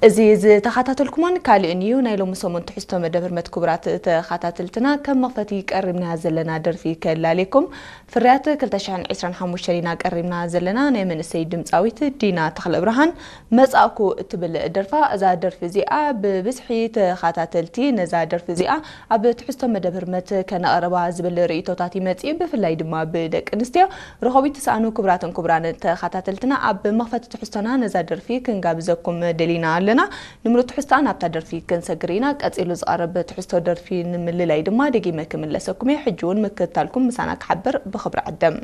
እዚ ዝተኸታተልኩሞን ካልእን እዩ። ናይ ሎሚ ሰሙን ትሕዝቶ መደብ ህርመት ክቡራት ተኸታተልትና፣ ከም መኽፈቲ ቀሪብና ዘለና ደርፊ ከላልየኩም። ፍርያት ክልተ ሽሕን ዕስራን ሓሙሽተን ኢና ቀሪብና ዘለና። ናይ መንእሰይ ድምፃዊት ዲና ተኽለብርሃን መጻእኩ እትብል ደርፋ። እዛ ደርፊ እዚኣ ብብዝሒ ተኸታተልቲ ነዛ ደርፊ እዚኣ ኣብ ትሕዝቶ መደብ ህርመት ከነቕርባ ዝብል ርእይቶታት ይመጽእ። ብፍላይ ድማ ብደቂ ኣንስትዮ ረኸቢት ትስኣኑ። ክቡራትን ክቡራን ተኸታተልትና፣ ኣብ መኽፈቲ ትሕዝቶና ነዛ ደርፊ ክንጋብዘኩም ደሊና ኣለና። ንምሉእ ትሕዝቶኣ ናብታ ደርፊ ክንሰግር ኢና። ቀጺሉ ዝቐርብ ትሕዝቶ ደርፊ ንምልላይ ድማ ደጊመ ክምለሰኩም እየ። ሕጂ እውን ምክትታልኩም ምሳና ክሓብር ብኽብሪ ዕድም።